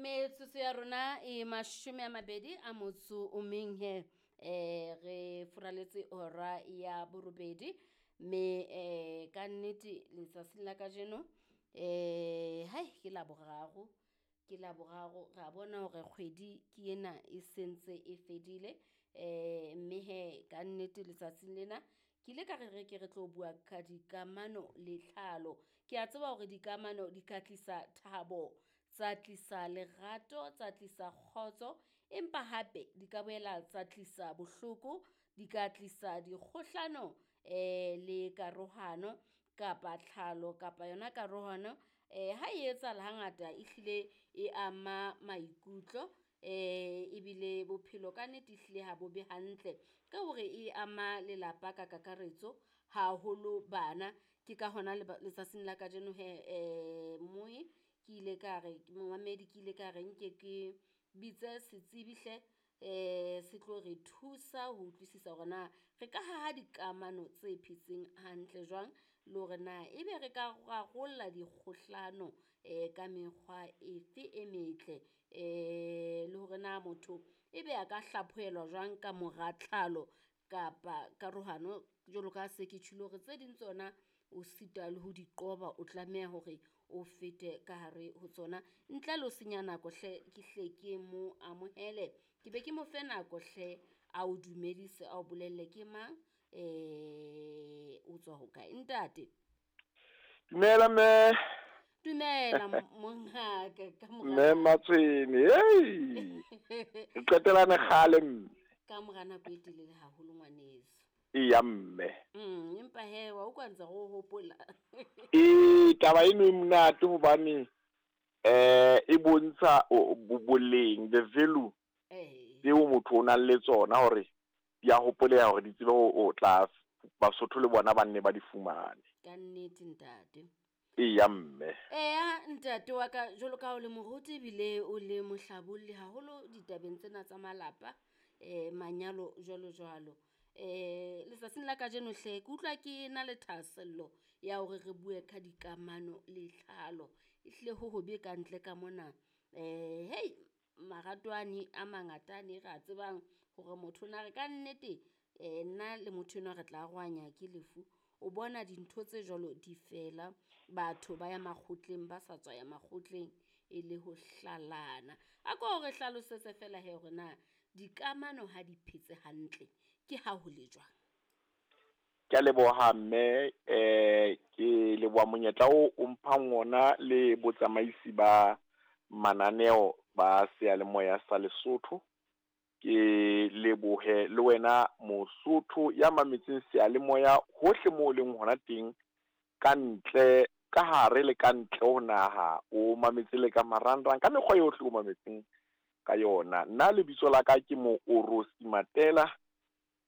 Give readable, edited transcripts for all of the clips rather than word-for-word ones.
Metsotso ya rona e 21 he re furaletse hora ya 8, mme ka nnete letsatsing la kajeno hai ke Laboraro, ke Laboraro, ra bona hore kgwedi ke ena e sentse e fedile. Mme he ka nnete letsatsing lena ke ile ka re re ke re tlo bua ka dikamano le tlhalo. Ke a tseba hore dikamano di ka tlisa thabo, tsa tlisa lerato, tsa tlisa kgotso, empa hape di ka boela tsa tlisa bohloko, di ka tlisa dikgohlano le karohano kapa tlhalo kapa yona karohano. Ha e etsahala hangata ehlile e ama maikutlo, ebile bophelo ka nnete ehlile ha bo be hantle ka hore e ama lelapa ka kakaretso, haholo bana. Ke ka hona letsatsing la kajeno he moe ke ile ka re momamedi, ke ile ka re nke ke bitse setsibi hle se tlo re thusa ho utlwisisa hore na re ka haha dikamano tse phetseng hantle jwang, le hore na ebe re ka rarolla dikgohlano ka mekgwa efe e metle, le hore na motho ebe a ka hlaphohelwa jwang ka mora tlhalo kapa karohano, jwalo ka se ke tjholo hore tse ding tsona o sita le ho di qoba, o tlameha hore o fete ka hare ho tsona. Ntle le ho senya nako hle, ke hle ke mo amohele, ke be ke mo fe nako hle a o dumedise, a o bolelle ke mang, o tswa hokae ntate. Dumela mme. Dumela mongaka ka mora Mme Matshwene, hey. Re qetelane kgale mme. Ka mora nako e telele haholo ngwaneso. Eya mme. Empa he wa utlwa ntse re o hopola. Ee, taba eno e monate hobane e bontsha boleng, the value tseo motho o nang le tsona hore di a hopoleha hore di tsebe ho tla Basotho le bona ba nne ba di fumane. Ka nnete ntate. Eya mme. Eya ntate wa ka, jwalo ka o le moruti ebile o le mohlabolli haholo ditabeng tsena tsa malapa, manyalo jwalo jwalo. Letsatsing la kajeno hle ke utlwa ke na le thahasello ya hore re bue ka dikamano le tlhalo. Ehlile ho hobe ka ntle ka mona. Hei marato ane a mangata ane re a tsebang hore motho na re ka nnete nna le motho enwa re tla arohanya ke lefu. O bona dintho tse jwalo di fela, batho ba ya makgotleng ba sa tswa ya makgotleng e le ho hlalana. A ko re hlalosetse fela he hore na dikamano ha di phetse hantle ke ha ho le jwang? Ke a leboha mme, ke leboha monyetla o o mphang ona le botsamaisi ba mananeo ba seyalemoya sa Lesotho. Ke lebohe le wena Mosotho ya mametseng seyalemoya hohle moo o leng hona teng, ka ntle, ka hare le ka ntle ho naha, o mametse le ka marangrang, ka mekgwa yohle o mametseng ka yona. Nna lebitso la ka ke Moorosi Matela,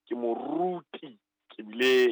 ke moruti, ke bile